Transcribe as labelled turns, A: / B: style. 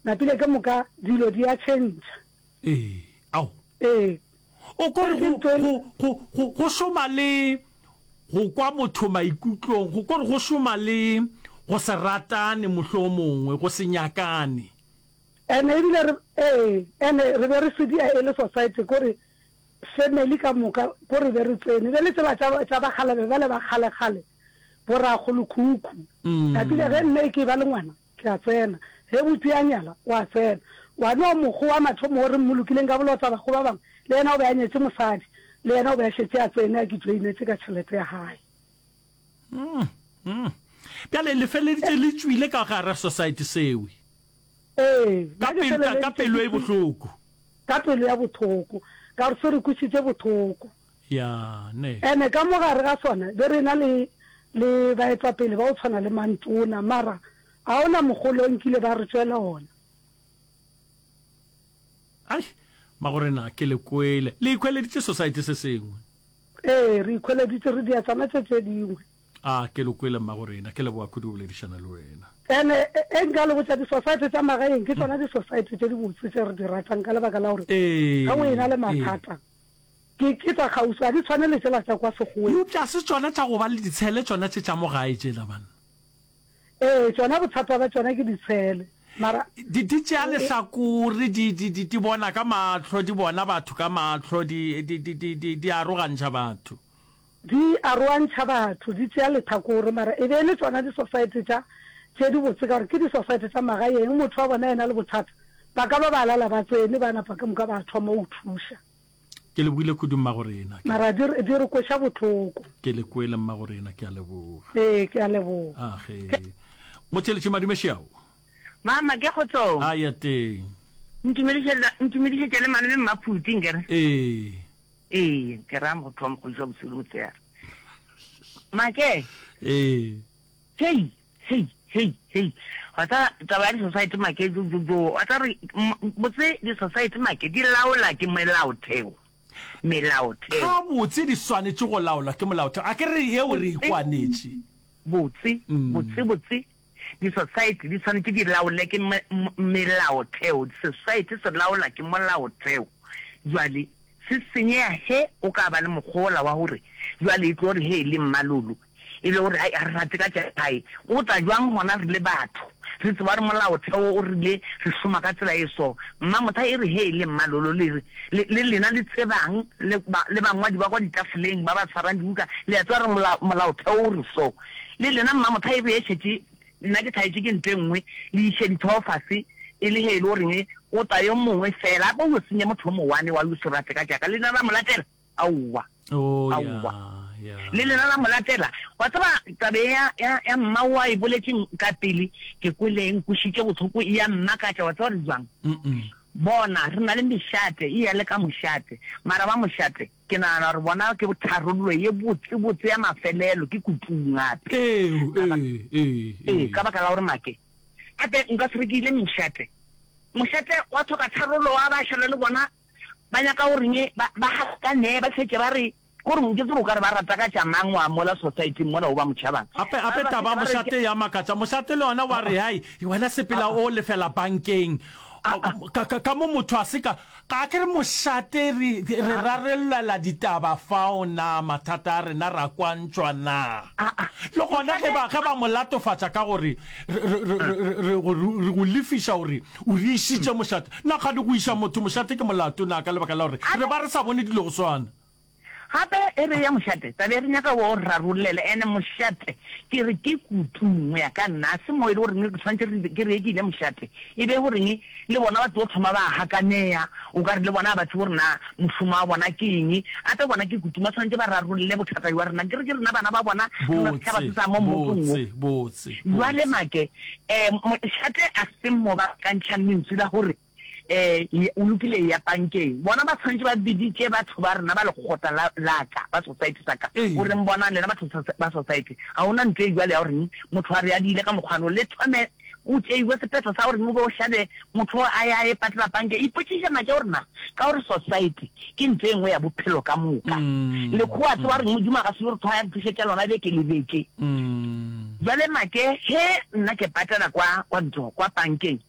A: Napile ke moka dilo di a tšhentšha.
B: Ee, ao.
A: Ee.
B: O ko re go, go, go, go, go šoma le go kwa motho maikutlong, go ko re go šoma le go se ratane mohlomongwe, go se nyakane.
A: Ene ebile re, ee, ene re be re sedia e le society, ko re family ka moka, ko re be re tsene. Bjale tsela tša, tša bakgalabje bale ba kgale-kgale, bo rakgolokhukhu. Napile ge mme e ke ba le ngwana, Ke a tsena. Ge buti a nyala, o a tsena. Wa no mokgo wa mathomo wo re mmolokileng ka bolotsa bakgo ba bangwe, le yena o be a nyetše mosadi, le yena o be a šetše a tsene a ke joinetše ka tšhelete ya gae.
B: Mm, mm. Bjale le feleleditše le tšwile ka gare society sewe.
A: Ee,
B: Ka nna ke pelo, ka, ka
A: feleleditše
B: pelo
A: ke
B: e bohloko.
A: Ka pelo ya bothoko, ka gore se re kwešitše bothoko.
B: Ya, ne.
A: Ene ka mo gare ga sona be re na le le baetapele ba go tshwana le Mantona, mara ga ona mogolo o nkile ba re tšwela ona.
B: Ai, magorena, ke le kwele. Le ikhweleditše society se sengwe.
A: Ee, re ikhweleditše, re dia tsona tše tše dingwe.
B: A, ke le kwele, mmagorena. Ke leboga kudu go boledišana le wena.
A: Ene e nka le botša, di-society tša magaeng ke tsona di-society tše dibotse tše re di ratang ka lebaka la gore
B: Ee,
A: ge o ena le
B: ee.
A: mathata, Ke, ke tša kgauswi, ga di tshwane le tšela tša kwa Sekgoweng.
B: Eupša se tšona tša go ba le ditshele, tšona tše tša mo gae tšela, banna.
A: Ee, tšona bothata bja tšona ke ditshele. Mara.
B: Di, di tšea lehlakore, di, di, di, di bona ka mahlo, di bona batho ka mahlo, di, di, di, di, di, di arogantšha batho.
A: Di aroantšha batho, di tšea lethakore, mara e be e le tšona disosaete tša, tše dibotse ka gore ke disosaete tša magaeng, motho wa bona ena le bothata, ba ka ba ba lala ba tsene, ba napa ka moka ba thoma go thuša.
B: Ke lebogile kudu mmagorena. Ke.
A: Mara di re, di re kweša bohloko.
B: Ke le kwele mmagorena, ke a leboga.
A: Ee, ke a leboga.
B: Age. Motheeletši Madume Šiao.
C: Mama, ke kgotsong.
B: A ya teng.
C: Ntumedišetša, ntumedišetša le malome Mmaphuti nkere.
B: Ee.
C: Ee, ke ra motho wa mokgodiši wa bosigo le motshegare. Make.
B: Ee.
C: Hei, Hei, hei, hei. Wa tseba taba ya di-society make, jo, jo, jo. Wa tseba re, botse di-society make di laola ke melaotheo. Melaotheo.
B: Gabotse di swanetše go laolwa ke molaotheo. A ke re yeo re e kwanetše.
C: Botse, botse, botse di-society di swanetše di laole ke melaotheo. Society se laola ke molaotheo. Jwale se senyega ge o ka ba le mokgwa wola wa gore jwale e tlo re ge e le mmalolo E le gore, ai, ga re rate ka tša gae. Go tla bjang gona re le batho, re tseba gore molaotheo o rile re šoma ka tsela e so? Mmamotha e re, Hei, le Mmalolo, le re, le, le lena le tsebang, le ba, le bangwadi ba kwa ditafoleng ba ba tshwarang dibuka, le a tseba gore mola, molaotheo o re so. Le lena Mmamotha e re e šetše, nna ke thaetše ke ntho e nngwe, le iše dithogo fase, e le ge e le goreng go tla yo mongwe fela, a ko yo senya motho yo mowane wa yo se rate ka tša ka, le lena la mo latela. Aowa.
B: Oh,
C: Aowa.
B: ya, ya.
C: Le lena la mo latela. Wa tseba, taba ye ya, ya, ya mma o a e boletšeng ka pele, ke kwele e nkwešitše bohloko, e a mmakatša, wa tseba gore bjang?
B: Mm-mm.
C: Bona, re na le mešate, e ya le ka mošate. Mara ba mošate, ke nagana gore bona ke tharollo ye botse-botse ya mafelelo, ke kutung gape.
B: Ee, ee, ee,
C: Ee,
B: ee.
C: ka baka la gore make, gape nka se re ke ile mošate. Mošate wa hloka tharollo, wa ba šala le bona Ba nyaka go reng ba ba gakanee ba šetše ba re ko re ke tsebe o ka re ba rata ka tša mang wa mola society mola o ba mo tšhabang.
B: Gape gape taba ya mošate ya makatša mošate le yona wa re hai wena sepela o lefela bankeng ka ka ka mo motho a se ka ga ke re mošate re re rarellela ditaba fao na mathata a rena ra kwantšwa na le gona ge ba ge ba mo latofatša ka gore re re re re re go lefiša gore O re išitše mošate. Na kgane go iša motho mošate ke molato na ka lebaka la gore re ba re sa bone dilo go swana?
C: Gape e re ya mošate, taba e re nyaka o rarollele ene mošate ke re ke kutung go ya ka nna, a se mo e le goreng re tshwanetse re ke re ke ile mošate e be goreng le bona ba tlo thoma ba gakanea o ka re le bona ga ba tsebe gore na mošomo wa bona ke eng, gape bona ke kutung ba tshwanetse ba rarolle bothata jwa rena ke re ke rena bana ba bona re na setšhaba se sa mo mmotong wo.
B: Botse, botse,
C: Jwale
B: botse.
C: Make, um mošate a se mo ba ka ntšhang lentswe la gore um o lokile eya pankeng. Bona ba tshwanetše ba biditše batho ba rena ba lekgotla la, la ka, ba society sa ka,
B: Ee.
C: o reng bonang lena batho ba society, ga go na ntho e bjalo ya goreng motho a re adile ka mokgwano, le thome go tšeiwe sephetho sa goreng o be o hlabe motho a ye a ye patela pankeng. Ipotšiše Make gore na ka gore society ke ntho e nngwe ya bophelo ka moka. Lekgowa a tseba gore Modimo a ka se yo re thwaya re thušetša lona beke le beke. Bjale Make, ge nna ke patela kwa, kwa ntho, kwa pankeng.